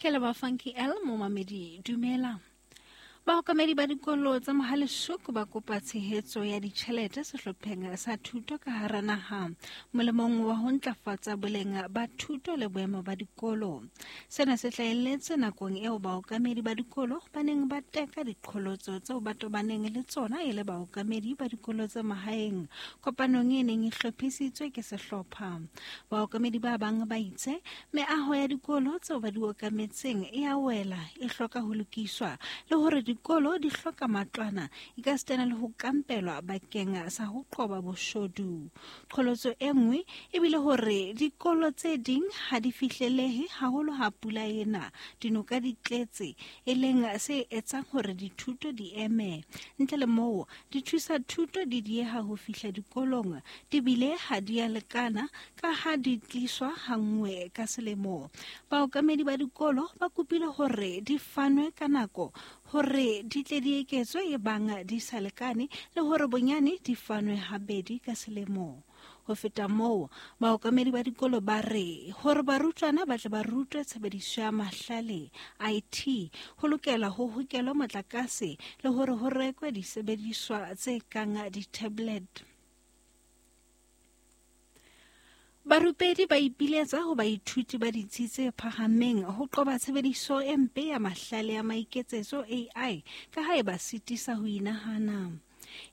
Ke leboha Funky L momamedi dumela. Baokamedi ba dikolo tsa Mohaleshoek ba kopa tshehetso ya ditjhelete sehlopheng sa thuto ka hara naha molemong wa ho ntlafatsa boleng ba thuto le boemo ba dikolo. Sena se hlahelletse nakong eo baokamedi ba dikolo ba neng ba teka diqholotso tseo ba tobaneng le tsona e le baokamedi ba dikolo tsa mahaeng kopanong e neng e hlophisitswe ke sehlopha. Baokamedi ba bang ba itse meaho ya dikolo tseo ba di okametseng e a wela, e hloka ho lokiswa le hore dikolo di hloka matlwana e ka sitana le ho kampelwa bakeng sa ho qoba boshodu. Qholotso e nngwe e bile hore dikolo tse ding ha di fihlelehe haholo ha pula ena, dinoka di tletse, e leng se etsang hore dithuto di eme. Ntle le moo, dithusa thuto di dieha ho fihla dikolong, di bile ha di a lekana ka ha di tliswa hanngwe ka selemo. Baokamedi ba dikolo ba kopile hore di fanwe ka nako hore di tle di eketswe e bang di sa lekane le hore bonyane di fanwe habedi ka selemo. Ho feta moo, baokamedi ba dikolo ba re hore barutwana ba tle ba rutwe tshebediso ya mahlale IT, ho lokela ho hokelwe motlakase le hore ho rekwe disebediswa tse kang di-tablet. Barupedi ba ipiletsa ho baithuti ba ditsi tse phahameng ho qoba tshebediso e mpe ya mahlale a maiketsetso AI ka ha e ba sitisa ho inahana.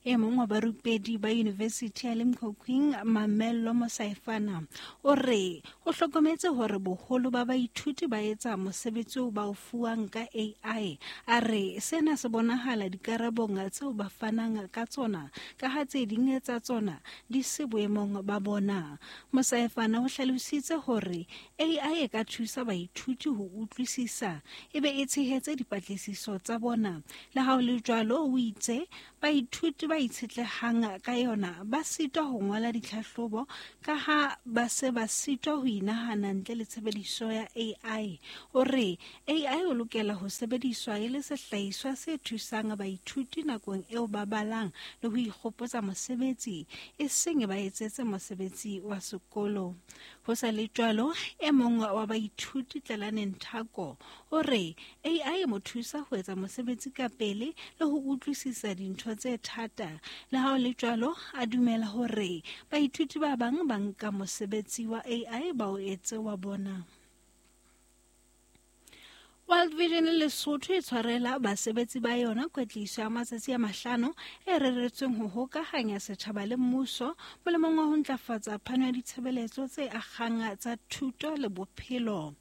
E mong wa barupedi ba University ya Limkokwing, Mamello Mosaefana, o re o hlokometse hore boholo ba baithuti ba etsa mosebetsi oo ba o fuwang ka AI. A re sena se bonahala dikarabong tseo ba fanang ka tsona, ka ha tse ding tsa tsona di se boemong ba bona. Mosaefana o hlalositse hore AI e ka thusa baithuti ho utlwisisa e be e tshehetse dipatlisiso tsa bona. Le ha ho le jwalo, o itse baithuti ba itshetlehang ka yona ba sitwa ho ngola ditlhahlobo ka ha ba se ba sitwa ho inahana ntle le tshebediso ya AI. O re AI o lokela ho sebediswa e le sehlahiswa se thusang baithuti nakong eo ba balang le ho ikgopotsa mosebetsi, e seng ba etsetse mosebetsi wa sekolo. Ho sa le jwalo, e mong wa baithuti Tlalane Nthako o re AI e mo thusa ho etsa mosebetsi ka pele le ho utlwisisa dintho tse thata. Le ha ho le jwalo, a dumela hore baithuti ba bang ba nka mosebetsi wa AI ba o etse wa bona. World Vision Lesotho e tshwarela basebetsi ba yona kwetliso ya matsatsi a mahlano e reretsweng ho hokahanya setjhaba le mmuso molemong wa ho ntlafatsa phano ya ditshebeletso tse akgang tsa thuto le bophelo.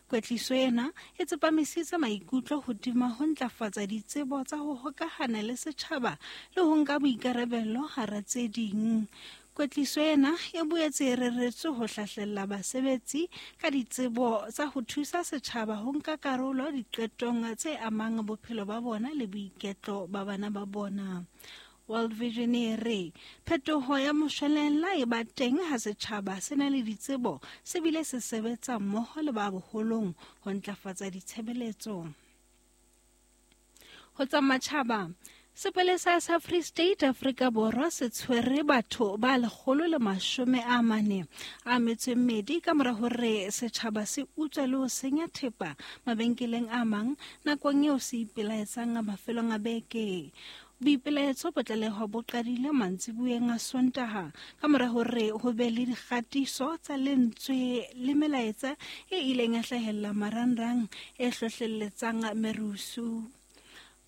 Kwetliso ena e tsepamisitse maikutlo hodima ho ntlafatsa ditsebo tsa ho hokahana le setjhaba le ho nka boikarabelo hara tse ding. Kwetliso ena e boetse e reretswe ho hlahlella basebetsi ka ditsebo tsa ho thusa setjhaba ho nka karolo diqetong tse amang bophelo ba bona le boiketlo ba bana ba bona. World Vision e re phetoho ya moshwelella e ba teng ha setjhaba se na le ditsebo se bile se sebetsa mmoho le ba boholong ho ntlafatsa ditshebeletso. Ho tsa matjhaba, sepolesa sa Free State Afrika Borwa se tshwere batho ba 142 ka mora hore setjhaba se utswe le ho senya thepa mabenkeleng a mang nakong eo se ipelaetsang mafelong a beke. Boipelaetso bo tlalehwa bo qadile mantsibueng a Sontaha ka mora hore ho be le dikgatiso tsa lentswe le melaetsa e ileng ya hlahella marangrang e hlohlelletsang merusu.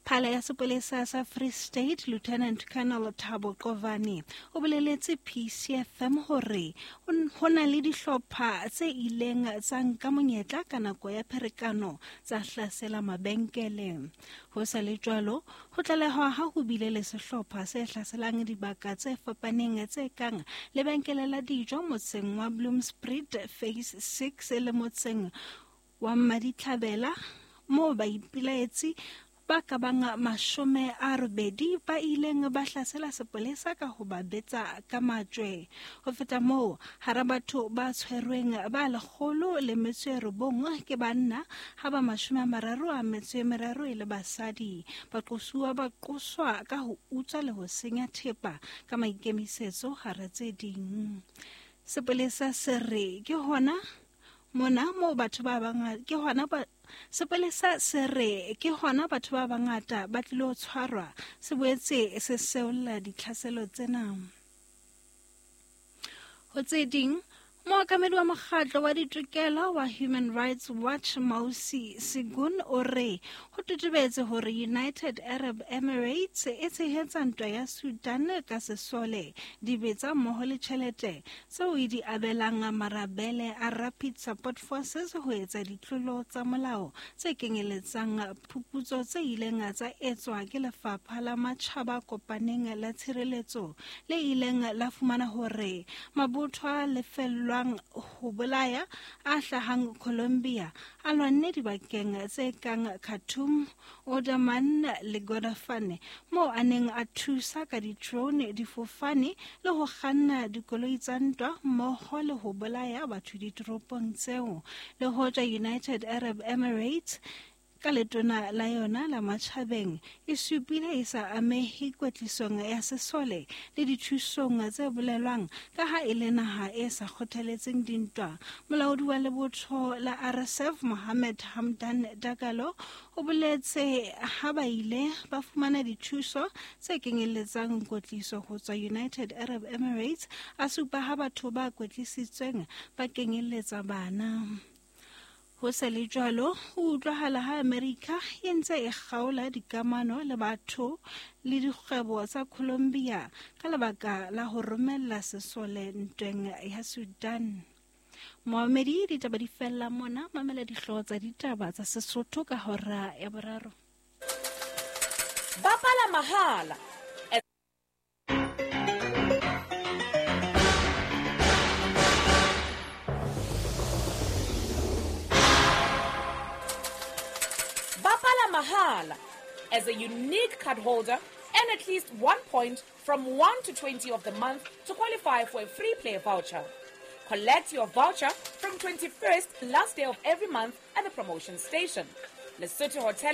Phala ya sepolesa sa Free State Lieutenant Colonel Thabo Qovane o boleletse PCFM hore ho na le dihlopha tse ileng tsa nka monyetla ka nako ya pherekano tsa hlasela mabenkele. Ho sa le jwalo, ho tlalehwa ha ho bile le sehlopha se hlaselang dibaka tse fapaneng tse kang lebenkele la dijo motseng wa Bloemspruit Phase 6 le motseng wa Maditlhabela moo baipilaetsi ba ka bang 80 ba ileng ba hlasela sepolesa ka ho ba betsa ka majwe. Ho feta moo, hara batho ba tshwerweng ba 109 ke banna, ha ba 33 e le basadi. Baqosuwa ba qoswa ka ho utswa le ho senya thepa ka maikemisetso hara tse ding. Sepolesa se re ke hona Mona moo batho ba bangata ke hona ba sepolesa se re ke hona batho ba bangata ba tlilo tshwarwa, se boetse se seolla ditlhaselo tsena. Ho tse ding, mookamedi wa mokgatlo wa ditokelo wa Human Rights Watch Mausi Segun o re ho totobetse hore United Arab Emirates e tshehetsa ntwa ya Sudan ka sesole, dibetsa mmoho le tjhelete tseo e di abelang marabele a Rapid Support Forces ho etsa ditlolo tsa molao tse kenyeletsang phuputso tse ileng tsa etswa ke Lefapha la Matjhaba Kopaneng la Tshireletso le ileng la fumana hore mabotho a lefellwang ho bolaya a hlahang Colombia a lwanne dibakeng tse kang Khartoum, Omdurman le Kordofan, moo a neng a thusa ka di-drone, difofane le ho kganna dikoloi tsa ntwa mmoho le ho bolaya batho ditoropong tseo. Le hoja United Arab Emirates ka letona la yona la matjhabeng e supile e sa amehe kwetlisong ya sesole le dithusong tse bolelwang ka ha e le naha e sa kgothaletseng dintwa. Molaodi wa lebotho la RSF Mohammed Hamdan Dagalo o boletse ha ba ile ba fumana dithuso tse kenyelletsang kwetliso ho tswa United Arab Emirates, a supa ha batho ba kwetlisitsweng ba kenyelletsa bana. Ho sa le jwalo, ho utlwahala ha Amerika e ntse e kgaola dikamano le batho le dikgwebo tsa Colombia ka lebaka la ho romella sesole ntweng ya Sudan. Moamedi, ditaba di fella mona, mamela dihlooho tsa ditaba tsa Sesotho ka hora ya boraro. Bapala mahala. Bapala mahala. As a unique card holder, earn at least 1 point from 1 to 20 of the month to qualify for a free play voucher. Collect your voucher from 21st, last day of every month at the promotion station. Lesotho Hotel